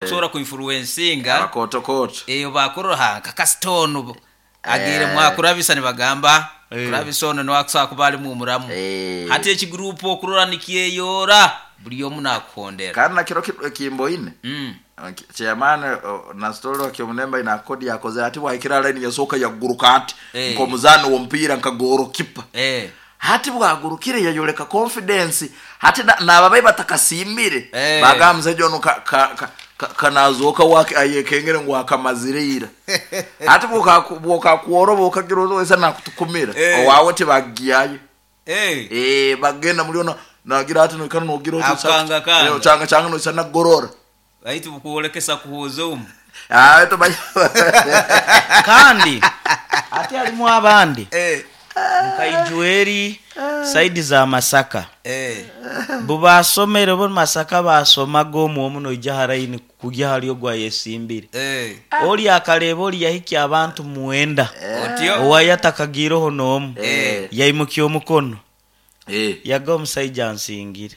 Abakusobora kuinfluencinga Abakooto-kooto. Eh, obakurora ha nka kasita onu agiire mwakurabisa nibagamba kurabisa onu niwe akusobora kuba alimu omuramu. Hati ekiguruupu okurora nikyeyoora buri omu nakuhondera. Kandi na kiro ekimboine chairman na story wa Kyomunemba ina kodi yakozere ati bwahikire ha line yasooka yaguruka ati nk'omuzaani w'omupiira nka goalkeeper. Hati bwagurukire yayoleka confidence hati naaba abayi batakasiimire bagamba omusaija onu ka nazooka we ayekengere ngu akamazire ira. Hati bwokakworoba okagira oti wesa nakutukumira owaawe tibagyayo. Bagenda muri ono nagira ati noikara nogira oti Akukangakanga. Ochangachanga noisa nagorora. Baitu bukwolekesa kuhuuza omu. Kandi ate harimu abandi nka Ijweri sayidi za Masaka bu baasomere bo Masaka baasomaga omu omu noija aha layini kugya ahari ogu ayesimbire. Ori akareeba ori yahikya abantu mwenda owaye atakagiireho n'omu yaimukya omukono yaga omusaija ansingire.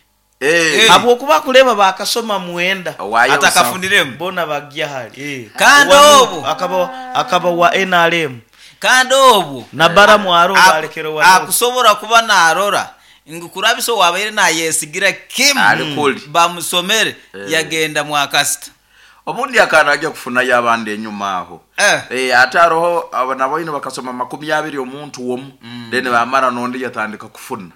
Habw'okuba akureeba baakasoma mwenda. Owaayo busaho. Atakafuniremu. Boona bagya hare. Kandi Owa obwo. Nup akaba akaba owa nrm. Kandi obwo. Na Balamu aroho baarekera owa Nup. Akusobora kuba naarora ngu kurabisa owaabaire naayesigira kimu Ali kuri. bamusomere yagenda mwa kasita. Obundi akaba naija kufunayo abandi enyuma aho. Ate haroho abo naboine bakasoma makumiabiri omuntu omu then bamara nondi yatandika kufuna.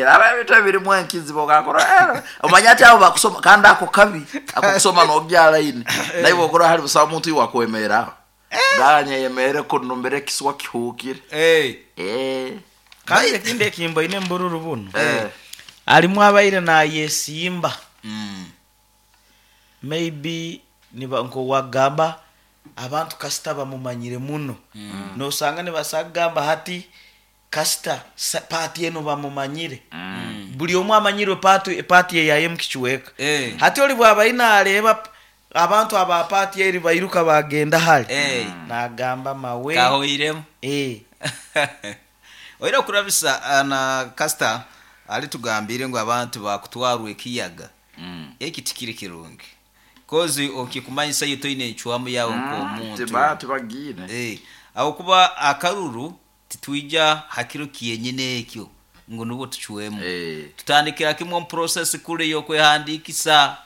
Raba ebintu ebirimu enkizi bokakora omanye ati abo bakusoma kandi ako kabi akokusoma nogya line naiwe okurora hari busaho muntu iwe akwemerra aho nganye yemere kunu mbere ekiswa kihuukire. Kandi ekindi ekimboine omu bururu bunu, harimu abaire nayesimba maybe niba nk'owagamba abantu kasita bamumanyire muno, nosanga nibaasa kugamba hati Kasita paati enu bamumanyire. Buri omwe amanyirwe paati paati eyaye omu kicweka. Hati ori bwaba ari naareeba abantu aba paati eri bairuka baagenda hare, naagamba mawe. Kahoiremu. Eh. Oine okurabisa na kasita aritugambiire ngu abantu baakutwarwa ekiyaga. Eki tikiri kirungi. Kozi okikumanyisa iwe toine encwamu yaawe nk'omuntu. Tibagiine. Ahabw'okuba akaruru Titwija ha kiro kyenyine ekyo ngu nubwo tucwemu. Tutandikira kimwe omu process kuri ey'okwehandiikisa.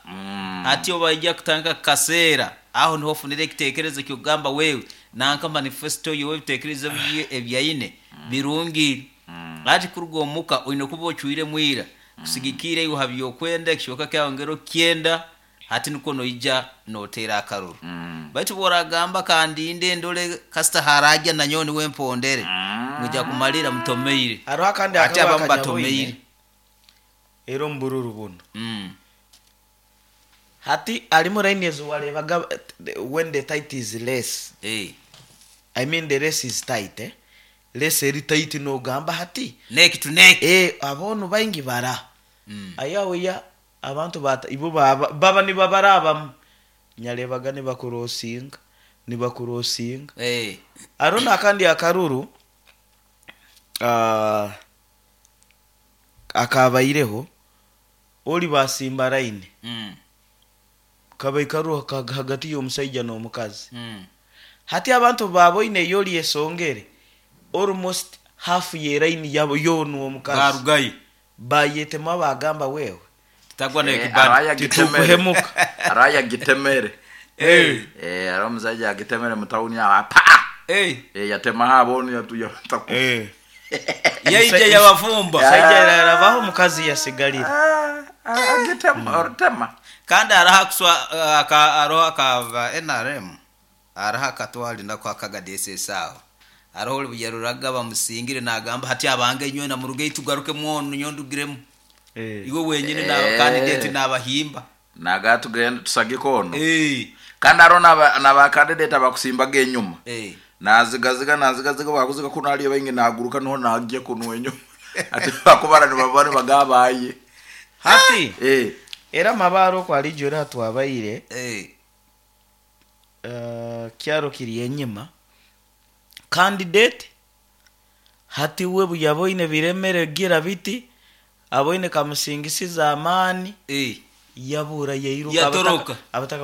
Hati obu baija kutandika kukaseera, aho niho ofunira ekiteekerezo eky'okugamba wewe nanka manifesto ye oba ebiteekerezo bye ebi aine birungi. Hati kuruga omuka oine kuba ocwiremu ira kusigikiira iwe ha by'okwenda, ekicweka kyawe engeri okukyenda. Hati nukwo noija noteera akaruru. Baitu obu oragamba kandinde ndole kasita haraagya nanyowe niwe mpondere, mwija kumalira mutomeire. Haroho akandi Hati akabi abamu akanyaboine batomeire. era omu bururu bunu. Hati harimu line ezi wareebaga when the tight is less, I mean the race is tight, race eri tight nogamba hati Neck to neck. aboonu baingi bara, aye aho ya Abantu baata ibo baaba baba nibabarabamu. Nyareebaga nibakurosinga, nibakurosinga. Hariho n'akandi akaruru akaabaireho, ori baasimba layini, kabaire karuru hagati y'omusaija n'omukazi. Hati abantu obu baaboine ei ori esongere, almost half y'elayini yabo yoona omukazi. Baarugayo. Baayetema baagamba, Wewe, Tutagwa n'ekibani. titukuhemuka. Hariho ayagitemere. Hariho omusaija yagitemere mu tawuni aho pa! Yatemaho aboonu yataku. Yaija yabafumba. Omusaija yarabaho omukazi yasigarira. Agitema, oritema. Kandi hariho akuswa aka hariho aka nrm Hariho akatwari nako akagadeesa aho. Hariho ori buyaruraga bamusingire nagamba hati abange inywena murugeyo tugarukemu onu nyowe ndugiremu. Iwe wenyini na candidate nabahimba. Naga tugende tusagike onu. Kandi hariho na ba candidate abakusimbaga enyuma. Nazigaziga nazigaziga bwakuziga kunu hariyo baingi naguruka niho nagya kunu enyuma. Hati bakubara nibaba nibagamba aye. Hati era amabaare oku ariija ori ahatwabaire. Kyaro kiri enyima, candidate hati we buyaboine biremere gira biti, aboine kamusingisize amaani, yabuura yairuka Yatoroka. abataka.